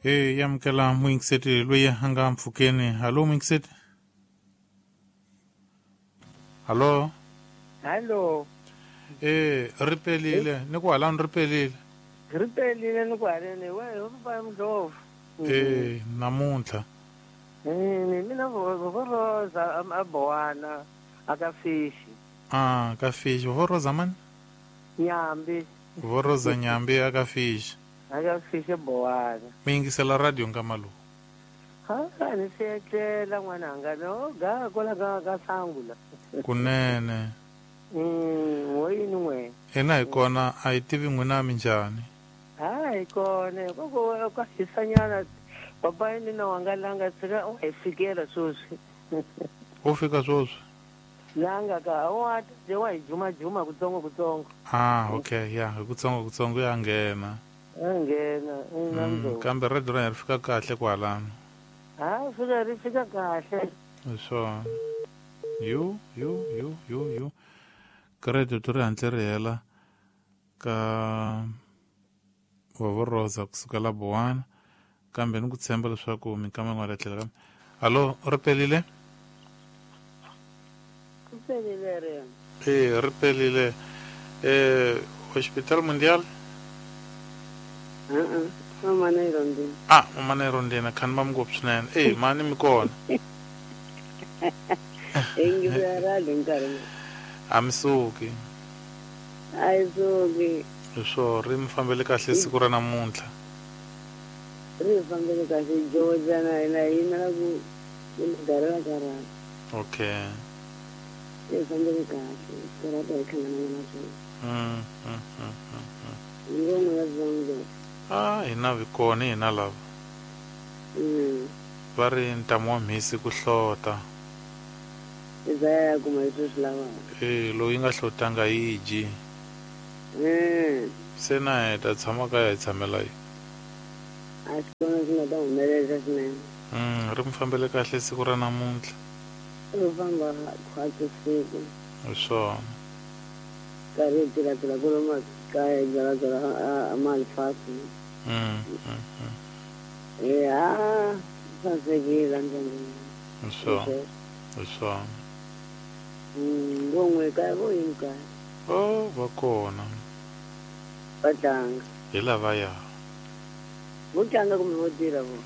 E yamukela muyingiseti loyi a nga mpfhukeni. Hallo muyingiseti. Hallo. Hallo. E ri pelile ni ku halani ri pelile. Ri pelile ni ku haleni we ho pa Mdlovu. E namuntlha. Ni mina vo Rosa a Bowana aka fishi. Ah, ka fishi. Vo Rosa mani? Nyambi. Vo Rosa Nyambi aka fishi. Aka fishi Bowana. Mi yingisela radio nkama lowu. Ha, ni se etlela n'wananga no ga kwala ka sangula. Kunene. Wo yini n'we? Hina hi kona a hi tivi n'wina minjhani. Ha, hi kona koko ka hisanyana papa yini na wanga langa tshika u hi fikela sweswi. U fika sweswi? Langa ka wa de wa hi juma juma kutsongo kutsongo. Ah, okay, ya hi kutsongo kutsongo ya nghena. Ya nghena. Kambe radio ra ri fika kahle kwalano. Ha, fika ri fika kahle. Swona. Yu. Credit ri hantle ri hela ka Vovo Rosa kusukela Bowana kambe ni ku tshemba leswaku minkama yin'wana tlhela kambe. Hallo, ri pelile? Ri pelile ri. E ri pelile. Hospital Mundial? Mama na Irondina. Ah, mama na Irondina khani va ngopfu swinene. E mani mi kona. Ingi ra nkarhi. A mi suki. A yi suki. Swo ri mi fambele kahle siku ra namuntlha. Ri fambele kahle Georgia na yimela ku garela karata. Okay. Ri fambele kahle karata yi hlangana na swona. Ngoma ya zongo. Ah, hina vi kona hina lava. Va ri ntamu wa mhisi ku hlota. Izaya kuma leswi swi lavaka. E loyi nga hlotanga yi dyi. Se na hi ta tshama kaya hi tshamela yi. A swi kona swi nga ta humelela swinene. Ri mi fambele kahle siku ra namuntlha. Ri famba khwatsi siku. Hi swona. Karhi hi tilatila ku lomu kaya hi byalabyala a malifasi. Ya sasekile ndyangwini. Hi swona. Hi swona. Ngon'we kaya vo yini kaya? Oh, va kona. Va tlanga. Hi lavaya. Vo tlanga kumbe vo tirha vo?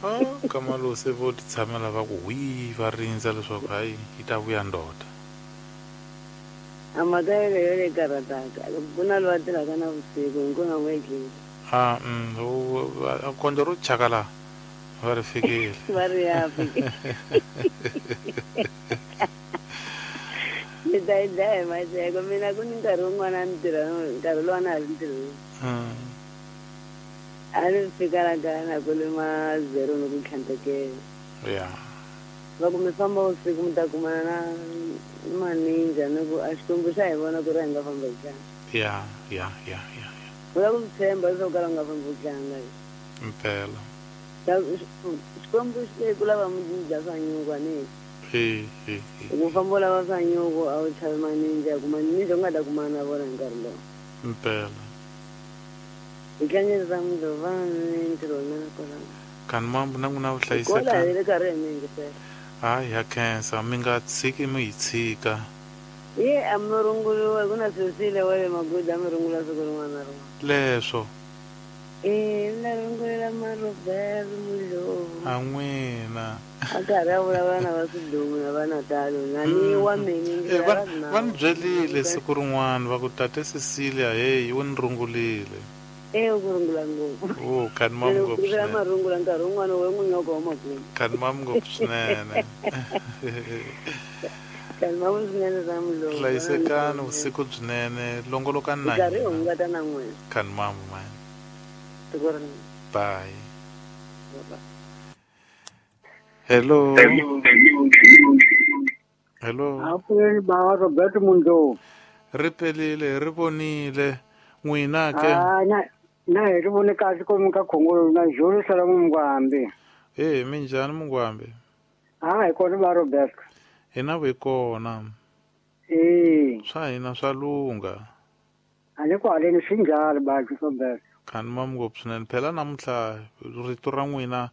Ah, kama se vo ti tshamela va ku hwi va rindza leswaku hayi yi ta vuya ndoda. A mhaka yeleyo leyi karhataka ku na loyi a tirhaka na vusiku hinkona n'we etleli. Ah, kondlo ro chaka laha va ri fikile. Va ri ya fikile. Ni ta yi dlaya hi maseko mina ku ni nkarhi wun'wana a ni tirha nkarhi lowu a na ha ri ntirhweni. A ni fika la kaya na ku lima zero ni ku tlhantekela. Ya. Va ku mi famba vusiku mi ta kumana na maninja ni ku a Xikwembu xa hi vona ku ri a hi nga famba hi tlanga. Ya. U lava ku swi tshemba leswaku kala u nga fambi u tlanga. Mpela. Xikwembu xi te ku lava mi dya swa nyuku a ni. Ku famba u lava swa nyuku a wu chavi maninja ku maninja u nga ta kumana na vona hi nkarhi lowu. Mpela. Hi tlangeni ra Mdlova ni ntirho wa mina kwalano. Kani mambu na n'wina vuhlayisekani. Kola hi le karhi hi mi yingisela. Hayi ya khensa mi nga tshiki mi hi tshika. Ye a mi runguriwa ku na Cecilia wa le Magudu a mi rungula siku rin'wana na rin'wana. Leswo. E na rungulela Marobert Mudlovu. A n'wina. A karhi a vulavula na va Swidumu na va Natal na ni wa mina va ni byelile siku rin'wana va ku tate Cecilia hey u ni rungulile. E u ku rungula ngopfu. Oh, kani mam ngopfu swinene. Marungula nkarhi wun'wana we n'wi nyoka wa makumu. Kani mam ngopfu swinene. Kani mam swinene ra Mdlovu. Hlayisekani vusiku byinene longolokani na hina. Nkarhi hungata na n'wina. Kani mam man. Bye. Hello. Hello. Apuleni baba Robert Mundlovu. Ri pelile, ri vonile. N'wina ke? Ah, na hi ri vone kahle komu ka Khongolo na Jolo sala Mungwambi. Eh, minjhani Mungwambi? Ah, hi kona ba Robert. Hina vi kona. Eh. Swa hina swa lungha. A ni ku haleni swi njhani ba Robert? Khani ma ngopfu swinene. Phela namuntlha rito ra n'wina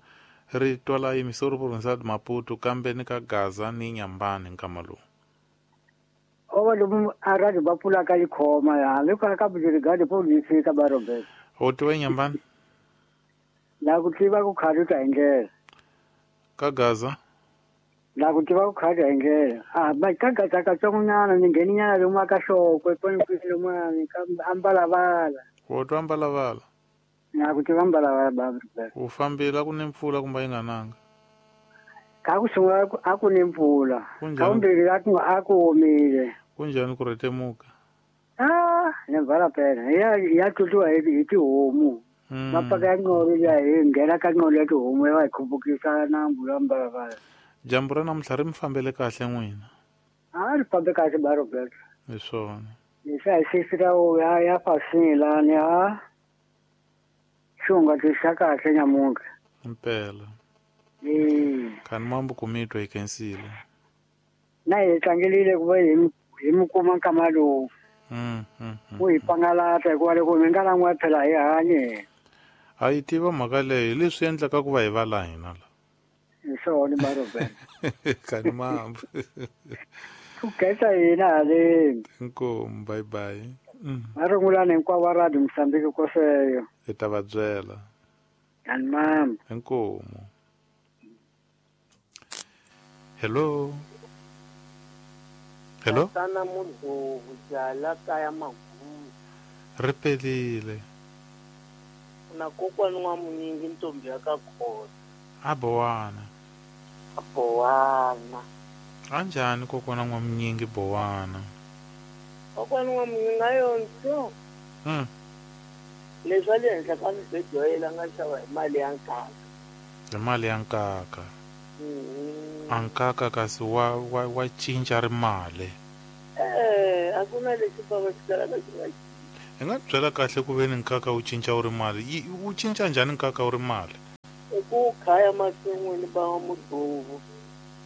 ri twala yimisori province ya Maputo kambe ni ka Gaza ni Nyambani nkama lowu. Ova lomu a radio va pfulaka yi khoma ya hambi ka ka brigade police ka ba Robert. U tiva Nyambani? La ku tiva ku khaluta hi ndlela. Ka Gaza? La ku tiva ku khaluta hi ndlela. Ah, ba ka Gaza katsongonyana ni ngheninyana lomu ka Xokwe kwini lomu ka Ambalabala. U twa Ambalabala? Na ku tiva Ambalabala ba Robert. U fambile ku ni mpfula kumbe yi nga nanga? Ka ku sungula a ku ni mpfula. Ka vumbirhi a ku omile. Kunjhani ku rhetemuka? Ah, ni vala phela. Ya tlutiwa hi tihomu. Mapaka ya nqolo ya hi nghena ka nqolo ya tihomu ya va hi khupukisa nambu ya Mbalabala. Dyambu ra namuntlha ri mi fambele kahle n'wina? A ri fambe kahle ba Robert. Hi swona. Leswi hi sisira ya fasini lani a xunga xa kahle nyamuntlha. Impela. Khani mambo ku mi twa hi khensile. Na hi tlangelile ku va hi mi kuma nkama lowu. Ku hi pangalata hikuva loko mi nga lan'wa phela hi hanye. A yi tiva mhaka leyi leswi endlaka ku va hi va la hina la. Hi swona ba Robert. Khani mambo. Ku khensa hina haleni. Inkomu, bye bye. Va rungulani hinkwavo va radio Mozambique koseyo. Hi ta va byela. Khani mambo. Inkomu. Hello. Hello. Tana mudzovu jala kaya magumu. Ri pelile. Na kokwani wa munyingi ntombi ya ka khona. A Bowana. A Bowana. Anjhani kokwana wa munyingi Bowana? Kokwana wa munyingi a yonto. Leswi a le henhla ka mibedo ya yena nga xava hi mali ya nkaka. Hi mali ya nkaka. A nkaka kasi wa cinca ri mali. A ku na lexi bava xi kalaka xi nga Hi nga byela kahle ku veni nkaka wu cinca wu ri mali. Wu cinca njhani nkaka wu ri mali? I ku khaya masin'wini ba wa mudzovu.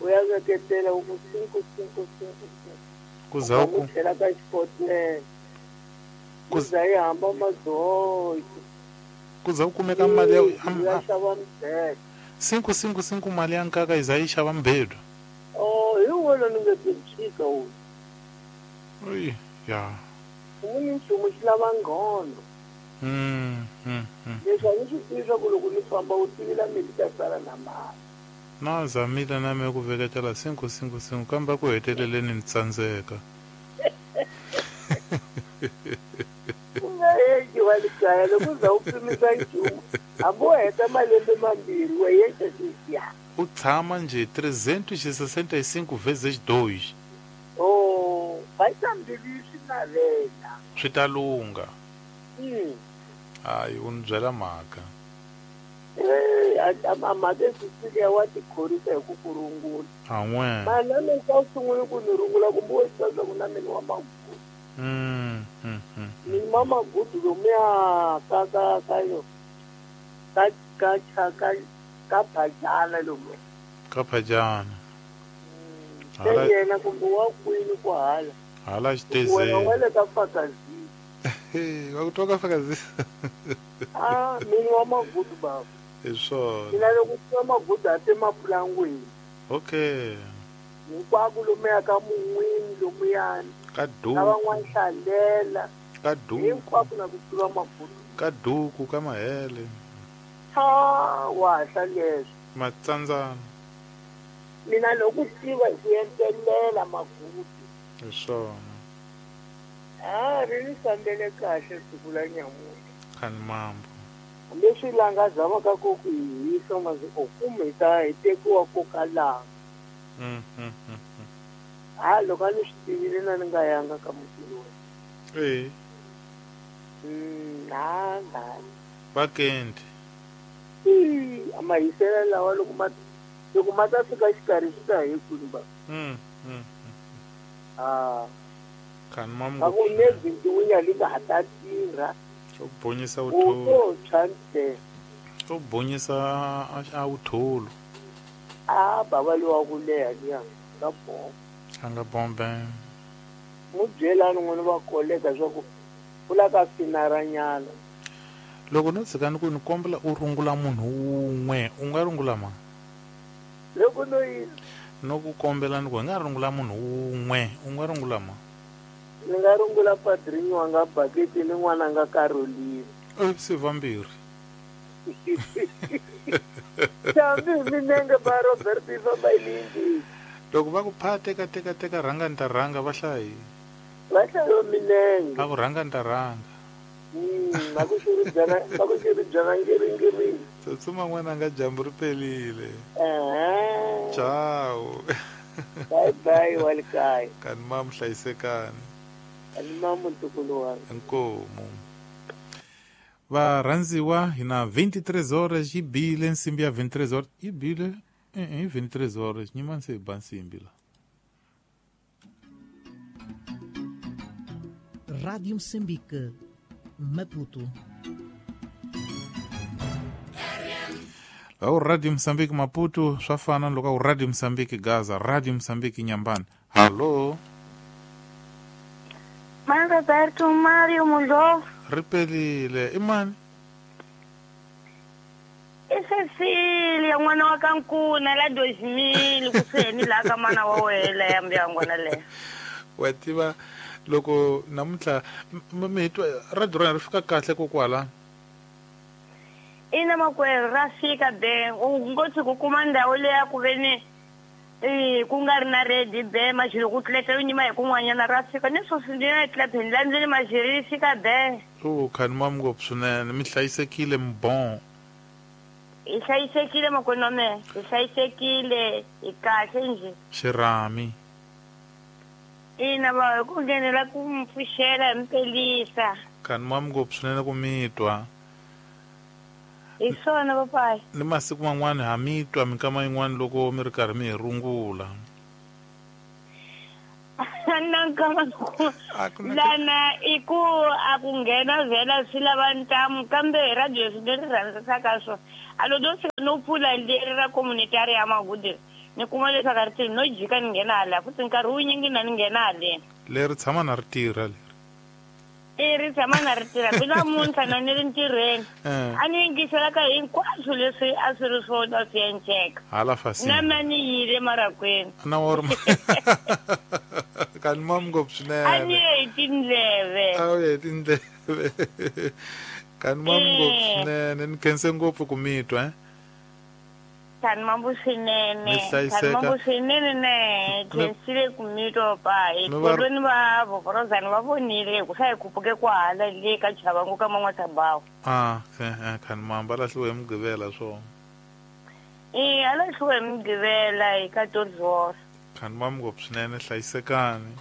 U ya veketela u ku 5 5 5. Ku za ku tlhela ka xikotela. Ku za yi hamba madzojo. Ku za ku kumeka mali ya xava mbhedwa. 5 5 5 mali ya nkaka yi za yi xava mbhedwa. Oh, hi wona ni nga tshika wu. Oyi, ya. Munhu nchumu xi lava nghondo. Leswi a ni swi tivi swa ku loko ni famba u tivila mi ta sala na mali. Na zamile na me ku veketela 5 5 5 kambe ku heteleleni ni tsandzeka. U nga heti wa le kaya loko u za u pimisa nchumu hambi wo heta malembe mambirhi wa yexa xisiya. U tshama nje 365 vezes 2. Oh, va tsambivi swi navela. Swi ta lungha. Hayi u ni byela mhaka. A mhaka Cecilia wa tikhorisa hi ku ku rungula. An'we. Mali na ka u sungule ku ni rungula kumbe wo swi swa ku na mina wa magudu. Ni ma magudu lomuya ka ka ka yo. Ka ka ka ka phajana lomu. Ka phajana. Se yena kumbe wa kwini ku hala. Hala xitezeni. Wena wa le ka Fakazi. Va ku twa ka Fakazi. Ah, mina wa magudu baba. Hi swona. Mina loko tiva magudu a te mapulangwini. Okay. Hinkwako lomuya ka mun'wini lomuyani. Ka duku. Ka van'wana hlalela. Ka duku. Hinkwako na ku tiva magudu. Ka duku ka mahele. Ha, wa hlalela. Matsandzana. Mina loko tiva hi ku entelela magudu. Hi swona. Ah, ri ni fambele kahle siku la nyamuntlha. Khani mambo. Leswi langa zamaka ku ku hisa masi o kumbe hi ta hi tekiwa ko ka langa. Ha loko a ni swi tivile na ni nga yanga ka mutini wena. Na na. Vakendi. A mahisela lawa loko ma ta fika xikarhi swi ta hi kwini ba. Ah. Khani mambo. A ku ne bintiwinya li nga ha ta tirha. U bonyisa uthulu. U to U bonyisa a uthulu. A baba lowa ku leha liya ka bombe. A nga bombe. Mu byelani n'wini va koleka swa ku ku la ka finaranyana. Loko no tshika ni ku ni kombela u rungula munhu wun'we u nga rungula ma? Loko no yini? No ku kombela ni ku hi nga rungula munhu wun'we u nga rungula ma? Ni nga rungula padrinho wanga Baketi ni n'wananga Caroline. Se vambirhi. Hambi hi minenge ba Robert yi famba hi lindi. Loko va ku pha teka teka teka rhanga ni ta rhanga va hlaya yini? Va hlaya minenge. Va ku rhanga ni ta rhanga. Va ku xiribyana, va ku xiribyana ngiringiri. Tsutsuma n'wananga dyambu ri pelile. Ciao. Bye bye wa le kaya. Kani mamu hlayisekani. Kani mamu ntukulu wanga. Inkomu. Varhandziwa hi na 23 horas yi bile nsimbi ya 23 horas yi bile i 23 horas nyimani se ba nsimbi la. Rádio Moçambique, Maputo. Loko Radio Moçambique Maputo swa fana loko Radio Moçambique Gaza, Radio Moçambique Nyambani. Hallo. Mani Roberto Mario Mulo. Ripelile, i mani? I Cecilia n'wana wa ka Nkuna la 2000 kusuhani laha ka mana wa wena ya mbuyangwana leyo. Wa tiva loko namuntlha mi twa radio ra ri fika kahle kokwala? Ina makwerhu ra fika be u ngo tshuka u kuma ndhawu leya ku ve ni ku nga ri na redi be maxilo ku tleta yo nyima hi kun'wanyana ra fika ni sweswi ndi na tlepheni la ndlwini maxilo yi fika be. O khani mam ngopfu swinene mi hlayisekile mi bon. Hi hlayisekile makwenu wa mehe, hi hlayisekile hi kahle njhe. Xirhami. Ina va hi ku nghenela ku mi pfuxela hi mi pelisa. Khani mam ngopfu swinene ku mi twa. Hi swona papayi. Ni masiku man'wani ha mi twa minkama yin'wana loko mi ri karhi mi hi rungula. Na nkama lana i ku a ku nghena vhela swi lava ntamu kambe hi radio swi leri rhandzisaka swona. A lo do fika no pfula leri ra communitary ya Magudu ni kuma leswaku a ri tirhi no jika ni nghena hala futhi nkarhi wunyingi na ni nghena haleni. Leri tshama na ri tirha leri. I ri tshama na ri tirha ku namuntlha na ni ri ntirhweni. A ni yingisela ka hinkwaswo leswi a swi ri swona swi endleka. Hala fasini. Na mina ni yile marakweni. Na wa ri kani mam ngopfu swinene. A ni ye hi tindleve. A wu ye hi tindleve. Kani mam ngopfu swinene ni khense ngopfu ku mi twa. Kani mambu swinene. Kani mambu swinene ne khensile ku mi twa pa. Hi kolweni va vovorozani va vonile ku swa hi khupuke kwahala le ka Chavangu ka Man'wasabawu. Ah, kani mamba lahliwe hi Mugqivela swona. E a lahliwe hi Mugqivela hi 14 horas. Kani mam ngopfu swinene hlayisekani.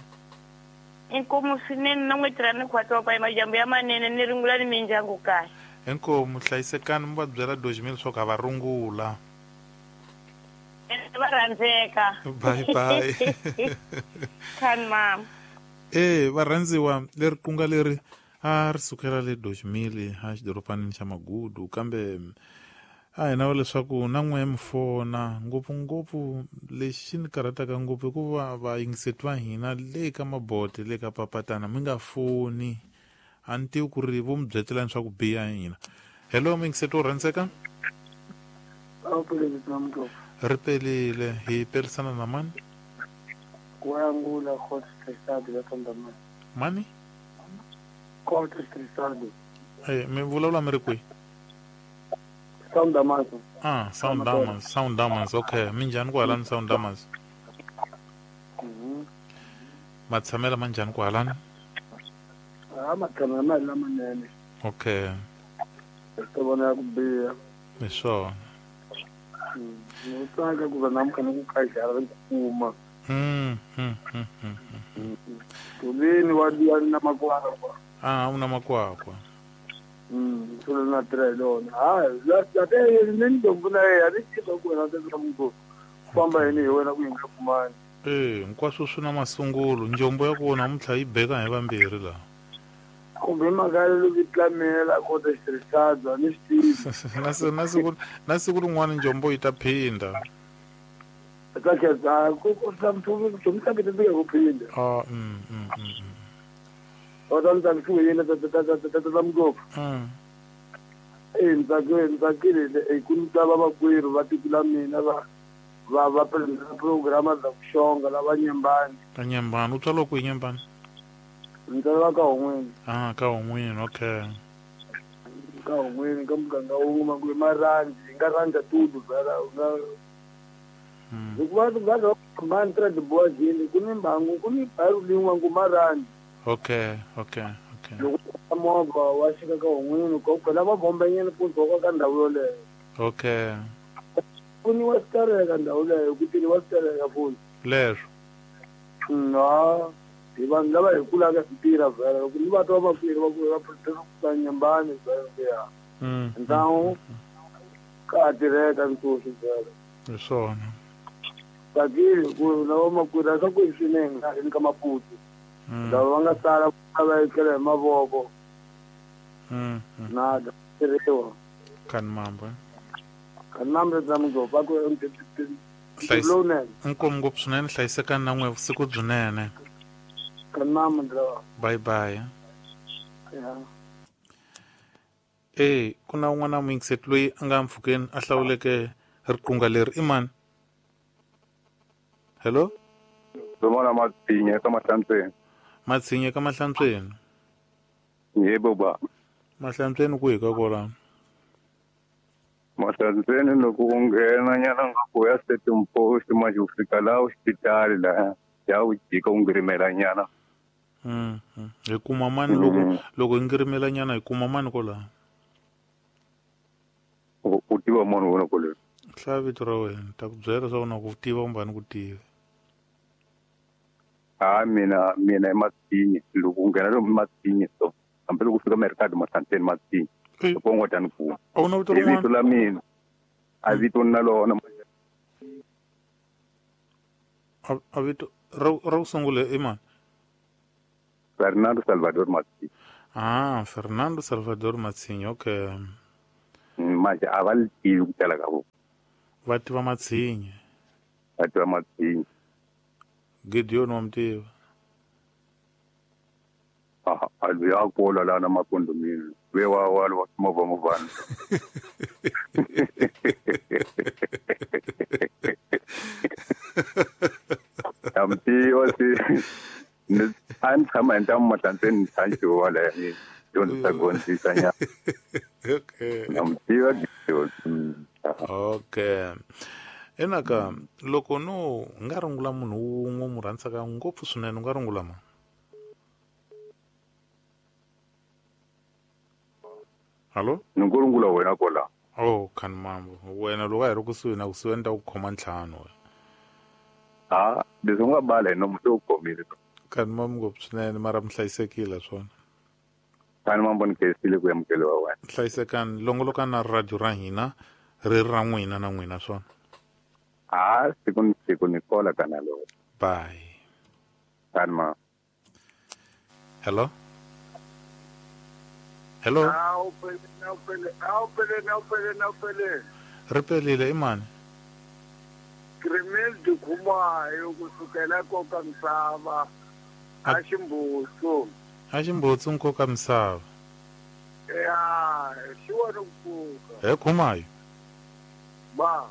Inkomu swinene na n'we tirha ni khwatsi pa majambu ya manene ni rungula ni mindyangu kahle. Inkomu hlayisekani mi va byela 2000 leswaku a va rungula. Va rhandzeka. Bye bye. Kani mama. Varhandziwa leri kunga leri a ri sukela le 2000 a xidorobanini xa Magudu kambe a hi nava leswaku na n'we mi fona ngopfungopfu lexi ni karhataka ngopfu hikuva vayingiseti va hina le ka mabote le ka papatana mi nga foni a ni tivi ku ri vo mi byetelani swa ku biha hina. Hello muyingiseti wo rhandzeka. Ri pelile hi perisana na mani? Kuangula Court Trisado la Tondamani. Mani? Court Trisado. Mi vulavula mi ri kwihi? Sound Damas. Ah, Sound Damas, Sound Damas, okay. Minjhani kwahalani Sound Damas? Matshamela manjhani kwahalani? Ah, matshamela ma lamanene. Okay. Ri vona ku biha. Hi swona. Ni tsaka ku va namuntlha ni ku kajara ri kuma. Tulini wa diya na makwakwa. Ah, una makwakwa. Solo na tirha hi lona. Hayi, la te ni ndombu na yena ni tiva ku wena teka munhu famba yini hi wena ku yi nga kumani. Hinkwaswo swi na masungulo. Njombo ya ku namuntlha yi beka hi vambirhi laha. Kumbe mhaka leyi vitlamela kota xitirhisana ni swi tivi. Na siku rin'wana njombo yi ta phinda. Ta khetsa ku ku ta ku phinda. Ah, O ta ta ku yena ta ta ta ta ngopfu. Ntsakile ku ni ta va vakwerhu va tiko la mina va programa za ku xonga lava Nyembani. Ka Nyembani, u tswariwa kwihi Nyembani? Ni tswariwa ka Hon'wini. Ah, ka Hon'wini, okay. Ka Hon'wini, ka muganga wun'we makume marhandzi, hi nga rhandza tudu vhela u nga hikuva va hambani tra tiboajini ku ni mbangu ku ni bharu lin'we ngu marhandzi. Okay, okay, okay. Loko movha wa xika ka Hon'wini ko phela va bombenyana ku dzoka ka ndhawu yoleyo. Okay. Ku ni wa sitereka ndhawu leyo ku tini wa sitereka futhi. Leswo. Ha hi vanhu lava hi kulaka hi tirha vhela loko ni va twa vakweri va ku va va Nyembani vhela ku ya. Ndhawu ka tirheka ntshoxo vhela. Hi swona. Tsakile ku na vamakwerhu a swa ku swinene nga ri ka Maputo. Lava va nga sala va etlela hi mavoko. Na tirhiwa. Kan mambo. Kan mambo tsa mugova va ku lowunene. Inkomu ngopfu swinene, hlayisekani na n'we vusiku byinene. Kan mambo ndla. Bye bye. Yeah. Ku na un'wana muyingiseti loyi a nga mpfhukeni a hlawuleke riqunga leri i mani? Hello? Zomona Matshinye ka Mahlantsweni. Matshinye ka Mahlantsweni. Yebo ba. Mahlantsweni ku hi ka kwalano? Mahlantsweni loko u nghena nyana nga ku ya Setum Post manje u fika laha hospitali laha ya u jika u ngirimela nyana. Hi kuma mani loko hi ngirimela nyana hi kuma mani kwalaho? U tiva munhu wena kwale. Hlaya vito ra wena, ta ku byela leswaku na ku tiva kumbe a ni ku tivi. Ha mina i Matshinye loko u nghena lomu Matshinye so hambi loko u fika Mercado Mahlantsweni Matshinye. Loko u ngo ta ni kuma. A wu na vito rin'wana? Vito la mina. A vito na lona. A vito ra ku sungula i mani? Fernando Salvador Matshinye. Ah, Fernando Salvador Matshinye, okay. Manje a va li tivi ku tala ka vona. Va tiva Matshinye. Va tiva Matshinye. Gideon wa mi tiva? A loyi a kula laha na makondomini. Ve wa wa wa movha movhana. Ya mi tiva se a ni tshama hi ntamu Mahlantsweni ni tshantxiwa wala ni dyondzisa gondzisa nyana. Okay. Na mi tiva Gideon. Okay. Enaka loko no nga rungula munhu wun'we mu rhandzaka ngopfu swinene u nga rungula ma? Hallo? Ni ku rungula wena kwala. Oh, kan mambo. Wena loko a hi ri kusuhi na kusuhi ni ta ku khoma ntlhanu wena. Ha, leswi u nga bala hi nomu se u khomile. Kan mambo ngopfu swinene mara mi hlayisekile swona. Kan mambo ni khensile ku amukeliwa wena. Hlayisekani, longolokani na radio ra hina ri ra n'wina na n'wina swona. Ha, siku ni siku ni kola kana lo. Bye. Kan ma. Hello? Hello? Awupele. Ri pelile i mani? Krimel Dikhumayo kusukela nkoka misava. A Ximbutsu. A Ximbutsu nkoka misava. Ya, xi wona ku pfuka. He Khumayo. Ba.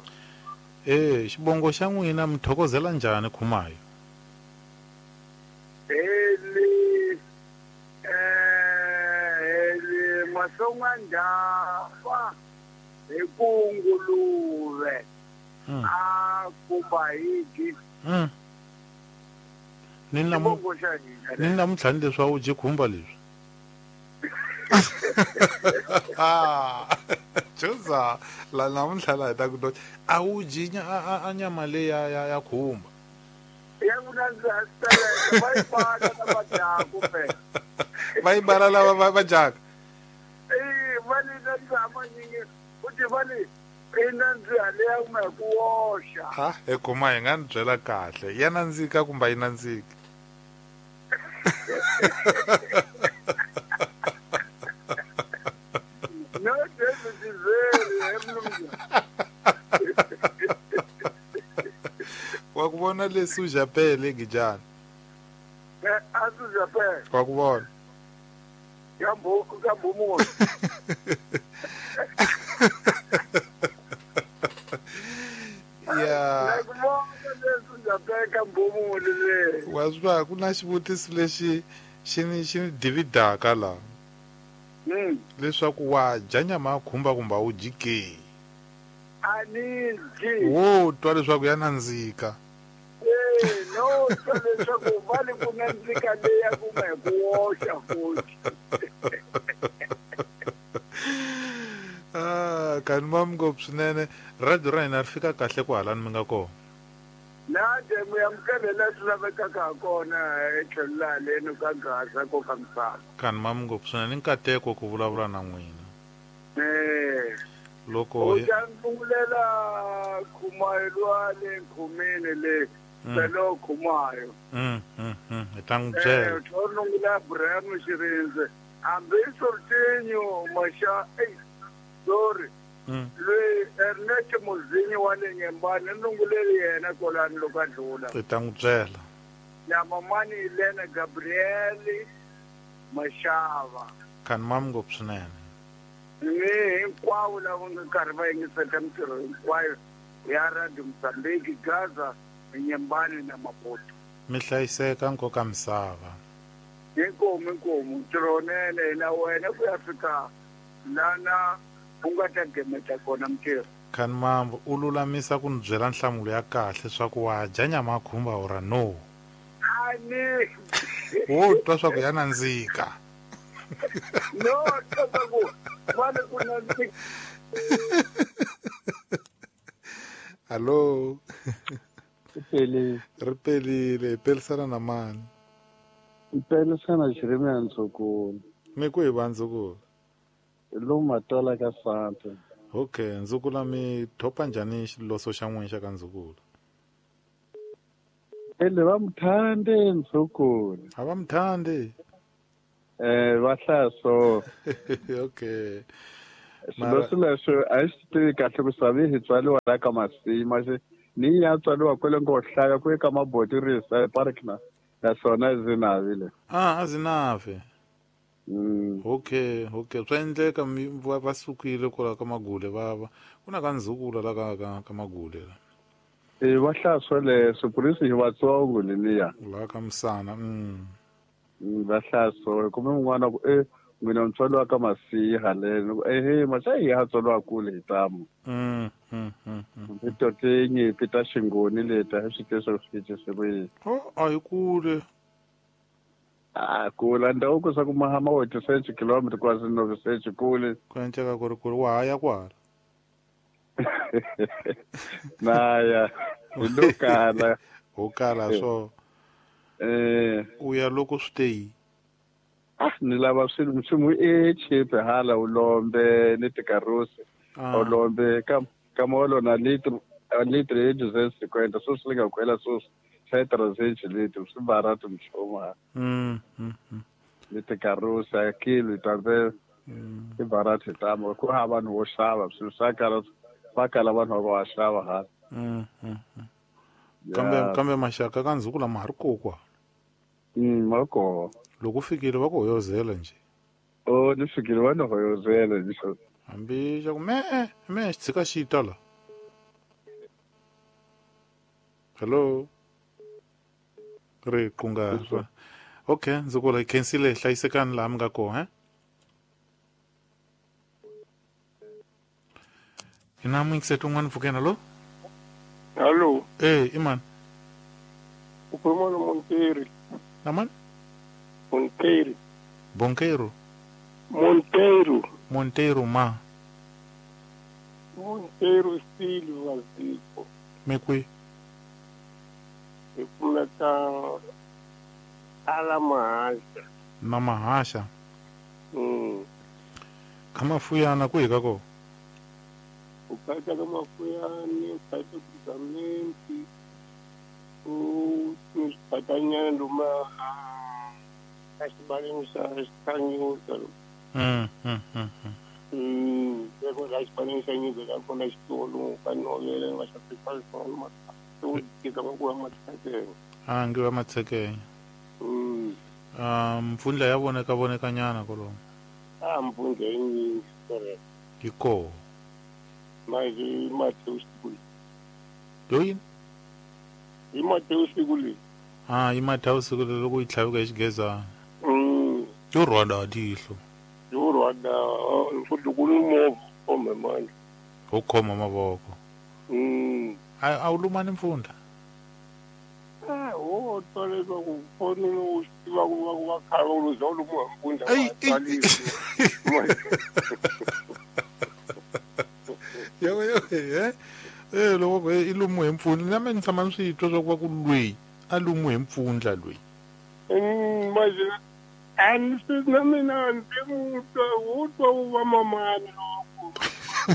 Xibongo xa n'wina mi thokozela njhani Khumayo? Eli Masonga Ndhafa hi ku nguluve. A kumba higi. Ni namuntlha ni leswi a wu dyi khumba leswi. Joza la namuntlha la hi ta ku a wu dyi a nyama leyi ya khumba. Ya ku nandziha sitereka va yi bala lava dyaka phela. Va yi bala lava va dyaka. Va ni nandziha manyingi futhi va ni i nandziha leya ku nga ku woxa. Ha, he khoma hi nga ni byela kahle. Ya nandzika kumbe a yi nandziki? No, David is very mnumzana. Wa ku vona leswi u japele Gijana? A swi japele. Wa ku vona? Ka Mbhumulo. Ya wa swi va ku na xivutiso lexi xi ni dividaka la leswaku wa dya nyama ya khumba kumbe a wu dyi ke? A ni dyi. Wo twa leswaku ya nandzika. No twa leswaku va le ku nandzika leya ku nga hi ku woxa futhi. Kani mam ngopfu swinene. Radio ra hina ri fika kahle ku halani mi nga kona. Na demu ya mukele swi lavekaka ha kona etlhelo laha leni ka Gaza ko ka misava. Kani mam ngopfu swinene, nkateko ku vulavula na n'wina. Loko u ta ndungulela Khumayo lwa le Nkhumeni le Selo Khumayo. Hi ta n'wi byela. U ndungula Abraham Xirindze hambi Sortinho Masha sorry. Loyi Ernest Muzinyi wa le Nyembani ndunguleli yena kolani loko a dlula. Hi ta n'wi byela. Na mamani Elena Gabriel Mashava. Kani mam ngopfu swinene. Ni hinkwavo lava nga karhi va yingisela mintirho hinkwayo ya Radio Mozambique, Gaza, Nyembani na Maputo. Mi hlayiseka nkoka misava. Inkomu inkomu ntirho nene na wena ku ya fika lana u nga ta gemeta kona mintirho. Kani mambo u lulamisa ku ni byela nhlamulo ya kahle swa ku wa dya nyama ya khumba ora no. A ni. Wo twa swa ku ya nandzika. No, twa ku va ku nandzika. Hello. Ripelile. Ripelile, pelisana na mani? Pelisana Jeremia Ndzukulu. Mi ku hi va Ndzukulu? Lomu Matola ka Santa. Okay, Ndzukulu mi thopa njhani xiloso xa n'wina xa ka Ndzukulu? Ele va mthande Ndzukulu. A va mthande? Va hlaya so. Okay. Xiloso lexo a xi tivi kahle ku savi hi tswariwa la ka Masima ni ya tswariwa kwele ngo hlaya ku eka Mabotirisa park na naswona Zinave le. A Zinave. Okay, okay. Swa endleka va sukile kwala ka Magule va ku na ka Ndzukulu la ka Magule la. Va hlaya swoleswo purisi hi vatsongo leniya. La ka Musana. Va hlaya so kumbe un'wana ku n'wina ntswalo ka Masiha leno ehe maxa hi ya tswalo kule hi tamu. Hi tinyipi ta Xingoni leti a swi tiva swi swi Oh, a hi kule. A kula ndhawu ku swa ku mahama wa 8 km kwasi 9 kule. Ku enceka ku ri kule wa ha ya kwala. Na ya hi lo kala. Ho kala swo. U ya loko swi te yi. Ni lava swilo nchumu e cheap hala u lombe ni tikarosi. U lombe ka molo na litro litro e 250 so swi nga kwela so xa 300 litro swi barato mchoma. Ni tikarosi a kilo tambe i barato tamo ku ha vanhu vo xava swilo swa kala va kala vanhu va xava hala. Kambe maxaka ka Ndzukulu ma ha ri kokwa. Ma koho. Loko fikile va ku hoyozela nje. Oh, ni fikile va ni hoyozela nje. Hambi xa ku me xi tshika xi ta la. Hello. Ri qunga. Okay, Ndzukulu hi khensile hlayisekani laha mi nga kona, Ina muyingiseti un'wana pfukeni, hello? Hello. I mani? U khuluma na Monteiro. Na mani? Monteiro. Bonkeiro. Monteiro. Monteiro ma. Monteiro Silva Zico. Me kwi? Hi kumeka ala Mahasha. Na Mahasha. Ka Mafuyana kwihi ka kona? U kata ka Mafuyani, u kata ku u swipatanyana luma ka xibaleni xa Nyuza. Loko la xibaleni xa Nyuza la kona xitolo ka novela va xa swona u tika va ku va Matshekenya. A ngi va Matshekenya. Mpfundla ya voneka vonekanyana kolomo. A mpfundla yi nyingi correct. Yi koho. Manje Mateus siku. Yoyini? Hi Mateus siku leyi. Ah, i Mateus siku leyi loko yi tlhaveka hi xigezana. Yo rhwala tihlo. Yo rhwala futhi ku ni movha khome manje. Ho khoma mavoko. A wu lumani mpfundla? Wo twa leswaku foni u swi tiva ku va va khale va ku za u lumiwa hi mpfundla wa tswalisi. Yo yo loko i lumiwe hi mpfundla na mina ni tshama ni swi twa swa ku va ku lweyi a lumiwe hi mpfundla lweyi. Manje a ni swi na mina ndzi mu twa wu twa wu va mamani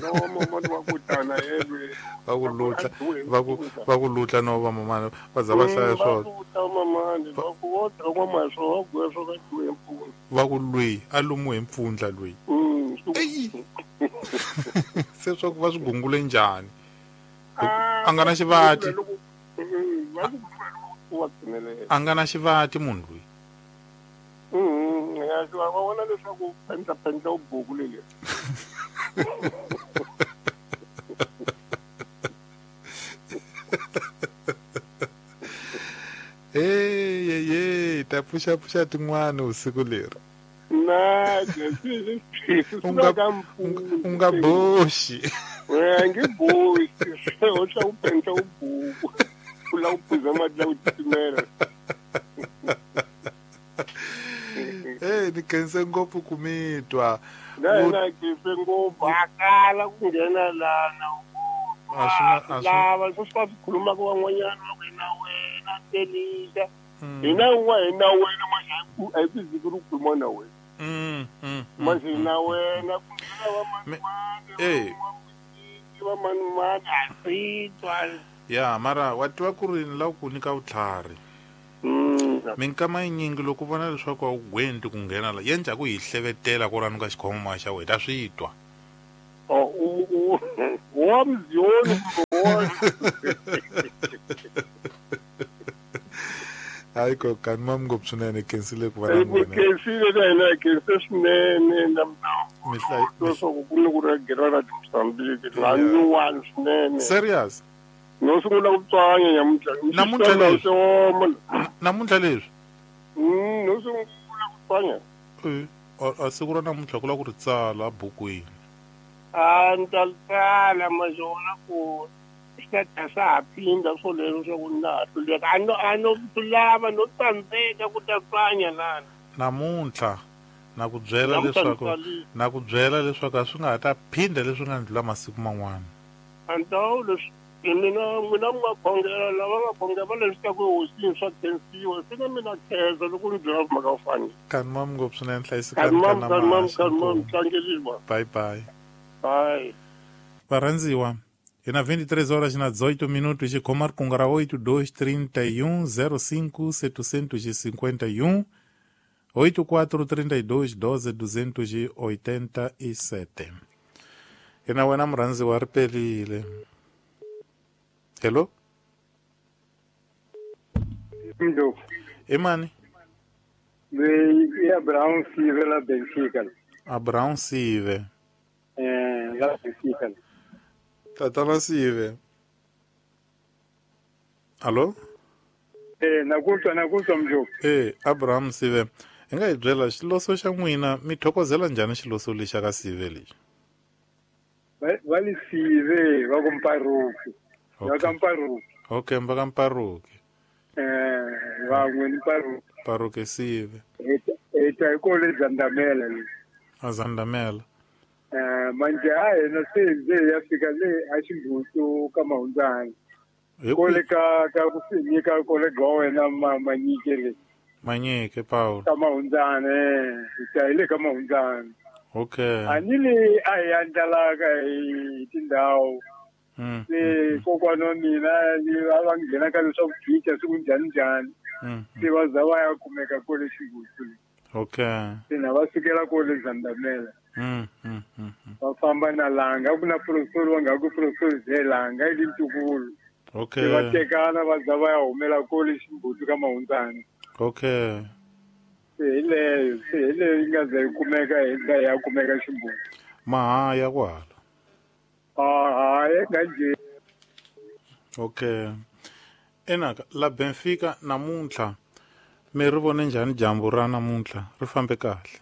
lowa mamani wa ku tana yelwe. Va ku lutla va ku lutla no va mamani va za va hlaya swona. Va ku lweyi a lumiwe hi mpfundla lweyi. Se swa ku va swi gungule njhani? A nga na xivati. A nga na xivati munhu loyi. Ya va vona leswaku pendla u buku leli. Hey, ta pfuxa tin'wana usiku leri. Na, u nga boxi. A nge boxi. U tla u pendla u buku. U lava ku phuza mati la ku titimela. Ni khense ngopfu ku mi twa. Na khense ngopfu a kala ku nghena lana. Lava sweswi va swi khulumaka van'wanyana va ku na wena telisa. Hina un'wana hi na wena manje a hi ku ziki ri khuluma na wena. Manje na wena ku nghena va manimani a swi twa. Ya mara wa tiva ku ri ni lava ku nyika vutlhari. Minkama yinyingi loko u vona leswaku a wu gwendi ku nghena la ya njhaku hi hlevetela kwalano ka xikhomama xa wena ta swi twa. Wa mziyoni. Hayi ko kani mam ngopfu swinene khensile ku va na n'wina. Khensile na hina khense swinene na leswaku ku ni ku ri gera ra Mozambique la nyuwani swinene. Serious? No sungula ku tswanya nyamuntlha. Namuntlha leswi. Namuntlha leswi. No sungula ku tswanya. A siku ra namuntlha ku lava ku ri tsala bukwini. A ni ta tsala mazona ku swi ta swa ha phinda swoleswo swa ku na ha hluleka. A no lava no tsandzeka ku ta tswanya lana. Namuntlha na ku byela leswaku na ku byela leswaku a swi nga ha ta phinda leswi nga ndlula masiku man'wana. Antawu leswi mina n'wina mi nga khongela lava nga khongela va leswi ta ku hosini swa khensiwa se na mina khensa loko ni byela mhaka yo fana. Kani mam ngopfu swinene hlayisekani kana kanimam tlangeliwa. Bye bye. Bye. Varhandziwa hi na 23 horas na 18 minutos xikhoma rikunga ra 8231 05 751 8432 12 287. Hi na wena murhandziwa ri pelile. Hello? Mdo. Imani? Ni Abraham Sive la Benfica. Abraham Sive. La Benfica. Tatana Sive. Allo? Nakutwa mjo. Abraham Sive. Hi nga hi byela xiloso xa n'wina mi thokozela njhani xiloso lexa ka Sive lexi? Va li Sive va ku Mparuki. Va ka Mparuki. Okay, va ka Mparuki. Van'we ni Mparuki. Mparuki Sive. Hi ta hi kole Zandamela le. A Zandamela. Manje a hina se nje ya fika le a Ximbutu ka Mahundzana. Kole ka ku nyika kole ga wena Manyike le. Manyike Paul. Ka Mahundzana hi ta hi le ka Mahundzana. Okay. A ni le a hi andlalaka hi tindhawu. Se kokwana wa mina a va nghena ka leswaku gicha siku njhani njhani. Se va za va ya kumeka kole Ximbutu. Okay. Se na va sukela kole Zandamela. Va famba na Langa ku na professor wa nga ku professor Zelanga i ntukulu. Okay. Se va tekana va za va ya humela kole Ximbutu ka Mahundzana. Okay. Se hi leyo yi nga za yi kumeka hi ya kumeka Ximbutu. Mahaya kwala. Ah, nganje. Okay. Enaka la Benfica namuntlha mi ri vone njhani dyambu ra namuntlha ri fambe kahle?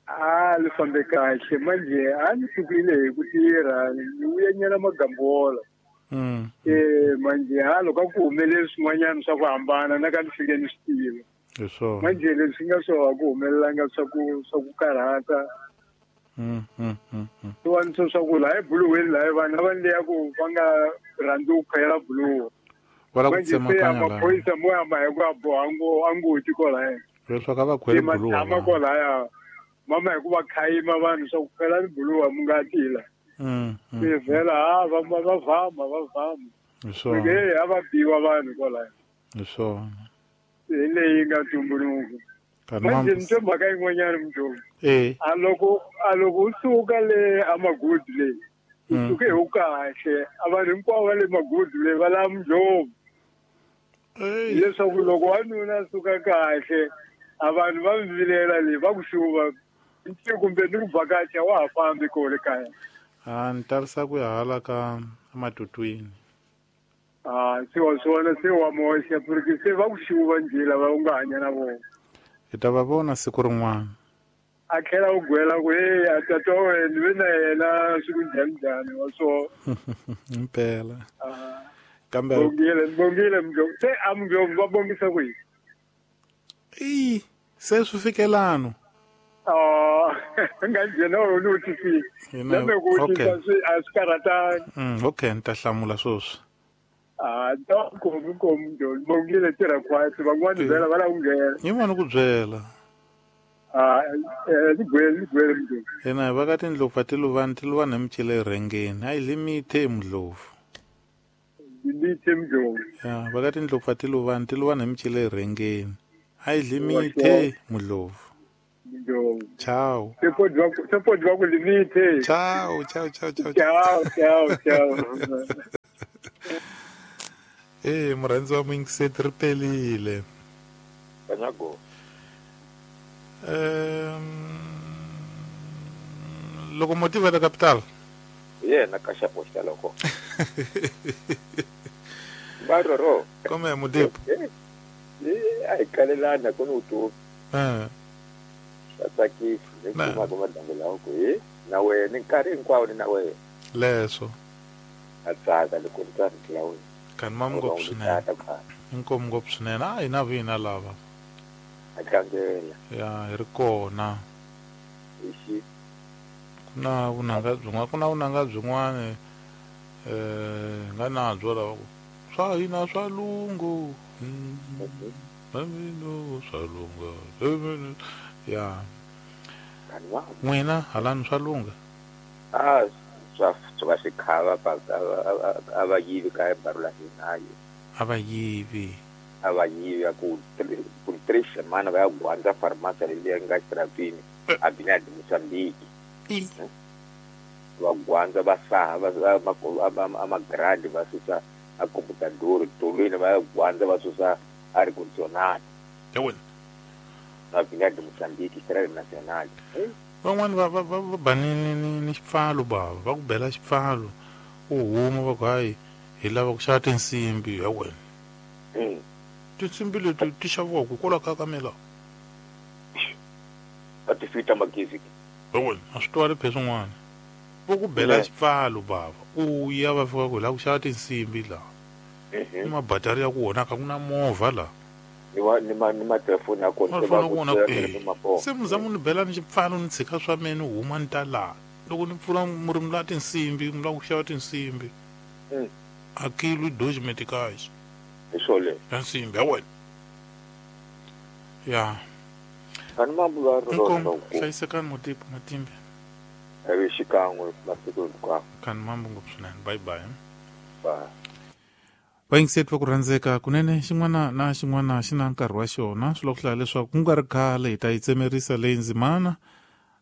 Ah, ri fambe kahle manje a ni sukile hi ku tirha ni vuye nyana magambola. Manje ha loko ku humelele swin'wanyana swa ku hambana na ka ni fike ni swi tiva. Hi swona. Manje leswi nga swo ku humelelanga swa ku karhata. Swin'wana swa ku laha ebuluweni laha vanhu a va leya ku va nga rhandzi ku khwela buluwa. Wala ku tsemakanya laha. Maphorisa mo ya ma hi ku a boha angoti kwalaya. Leswaku a va khwele buluwa. Tshama kwalaya. Mama hi ku va khayima vanhu swa ku khwela buluwa mu nga tila. Se vhela ha va vama va vama. Hi swona. A va biwa vanhu kwalaya. Hi swona. Hi leyi nga tumbuluka. Manje ni twe mhaka yin'wanyana mudyohi. A loko u suka le amagudu le u suke hi wu kahle a vanhu hinkwavo va le magudu le va lava mudyohi. Leswaku loko wanuna a suka kahle a vanhu va mi vilela le va ku xuva kumbe ni ku vhakacha wa ha fambi kona kaya. A ni tarisa ku ya hala ka ematutwini. Ah, se wa swona se wa moxa porque se va ku xuva njhe lava u nga hanya na vona. Hi ta va vona siku rin'wana. A tlhela u gwela ku hey a tata wa wena ni ve na yena swi ku njhani njhani wa swona. Impela. Kambe bongile mdlovu se a mdlovu va bongisa ku yini? I se swi fikelano. Nga njhena u ni vutisi. Na me ku vutisa swi a swi karhatani. Okay, ni ta hlamula sweswi. Ah, ko mdlovu bongile tirha khwatsi van'wana vhela va lava ku nghena. Yi vona ku byela. Ah, ligwele mdlovu. Ena va ka tindlopfu tiluvani tiluvani hi micele erhengeni a yi limithe mdlovu. Limithe mdlovu. Ya, va ka tindlopfu tiluvani tiluvani hi micele erhengeni a yi limithe mdlovu. Mdlovu. Ciao. Se podi va ku limithe. Ciao, ciao, ciao, ciao. Ciao, ciao, ciao. Murhandzi wa muyingiseti ri pelile. Kanyago. Locomotiva da capital. Yena ka xapo xa loko. Baroro. Come mudipo? Ai kalelana ku ni tu. Tsakisi ni kuma ku madambu lawa ku na wena nkarhi hinkwawo ni na wena. Leswo. A tsaka loko ni twa rito la wena. Kani mam ngopfu swinene. Inkomu ngopfu swinene. A hina vina lava. A tlangela. Ya, hi ri kona. Ixi. Ku na vunanga byin'wana, ku na vunanga byin'wana nga na byo lava ku swa hina swa lungu. Swa lunga. Ya. N'wina halani swa lunga? Ah, swa swi khava a va yivi ka barula hina. A va yivi. A va yivi ku 3 semana va ya gwandza farmasi leyi nga xirapini a bina de Mozambique. Va gwandza va saha va amagrandi va susa a computador tolweni va ya gwandza va susa a ricondicionado. Ya wena. A bina de Mozambique Estrada Nacional. Van'wani va ba ni xipfalo bava va ku bela xipfalo u huma va ku hayi hi lava ku xava tinsimbi ya wena. Tinsimbi leti ti xaviwaka hikwalaho ka mina. A ti fita magezi. Ya wena a swi twali phe swin'wana. Va ku bela xipfalo bava u ya va fika ku hi lava ku xava tinsimbi laha. Ni mabatari ya ku onhaka ku na movha laha. Ni ma telefoni ya kona se muzamu ni bela ni xipfalo ni tshika swa mina ni huma ni ta laha loko ni pfula murimi la tinsimbi mi lava ku xava tinsimbi a kilo dois meticais hi swole ya nsimbi ya wena. Ya ani mambu hlayisekani mutipo matimbe evi xikan'we masiku hinkwawo kani mambu ngopfu swinene. Bye bye. Bye. Vayingiseti va ku rhandzeka kunene xin'wana na xin'wana xi na nkarhi wa xona swi lava ku hlaya leswaku ku nga ri khale hi ta yi tsemerisa leyi ndzimana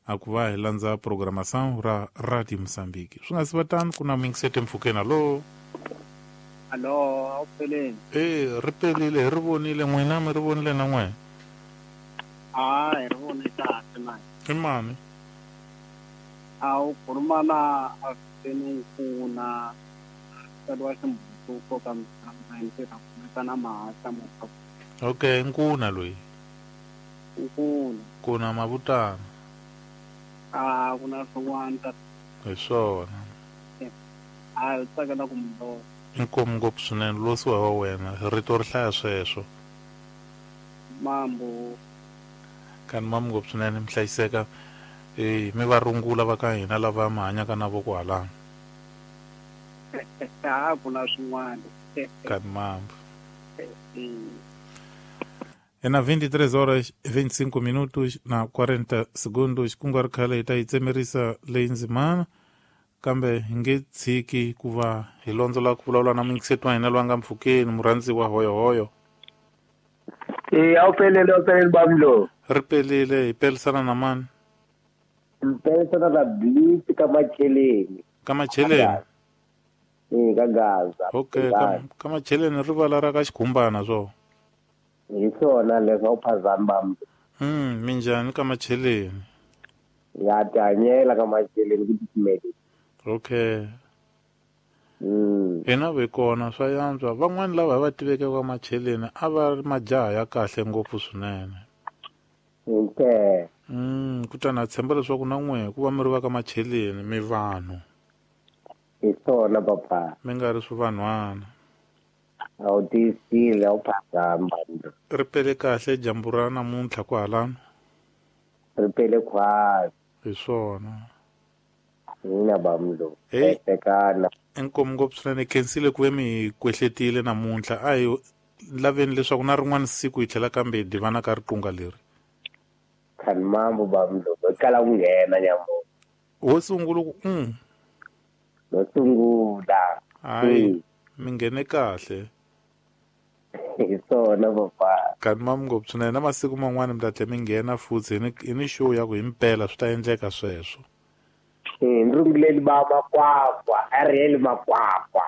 a ku va hi landza programação ra Radio Mozambique. Swi nga si va tano ku na muyingiseti mpfhukeni. Alo. Alo, a wu peleni? Ri pelile hi ri vonile n'wina mi ri vonile na n'wina? A hi ri vone kahle mani. I mani? A wu khuluma na Afeni Nkuna tsariwa ximbutuko ka mntirha na mahahla mo. Okay, Nkuna loyi. Nkuna. Kuna mavutana. A ku na swin'wana. Hi swona. A tsakela ku mbo. Inkomu ngopfu swinene losiwa wa wena rito ri hlaya sweswo. Mambo. Kani mambo ngopfu swinene mi hlayiseka. Mi va rungula va ka hina lava mi hanyaka na voko halano. A ku na swin'wana. Kani mambo. É na 23 horas 25 minutos na 40 segundos ku nga ri khale hi ta yi tsemerisa leyi ndzimana kambe hi nge tshiki ku va hi londzola ku vulavula na muyingiseti wa hina loyi a nga mpfhukeni murhandziwa hoyohoyo. A wu pelele bamlo. Ri pelile hi pelisana na mani? Hi pelisana na Blitz ka Macheleni. Ka Macheleni? Ka Gaza. Okay, ka Macheleni rivala ra ka Xikhumbana swo. Hi swona leswo a wu phazami bamlo. Minjhani ka Macheleni? Ya tihanyela ka Macheleni ku titimela. Okay. Hina ve kona swa yantswa van'wani lava hi va tiveke ka Macheleni a va ri majaha ya kahle ngopfu swinene. Okay. Kutani a tshemba leswaku na n'we ku va mi ri va ka Macheleni mi vanhu. Hi swona papa. Mi nga ri swivanhwana. A wu tiyisile a wu phazami bamlo. Ri pele kahle dyambu ra namuntlha kwahalano? Ri pele khwatsi. Hi swona. Hina bamlo. Tekana. Inkomu ngopfu swinene khensile ku ve mi kwehletile namuntlha a hi laveni leswaku na rin'wana siku hi tlhela kambe hi divana ka riqunga leri. Khani mambo bamlo hi kala ku nghena nyambo. Wo sungula ku No sungula. Hayi mi nghene kahle. Hi swona papa. Khani mambo ngopfu swinene na masiku man'wana mi ta tlhela mi nghena futhi hi ni show ya ku himpela swi ta endleka sweswo. Ni runguleli ba makwakwa, Ariel makwakwa.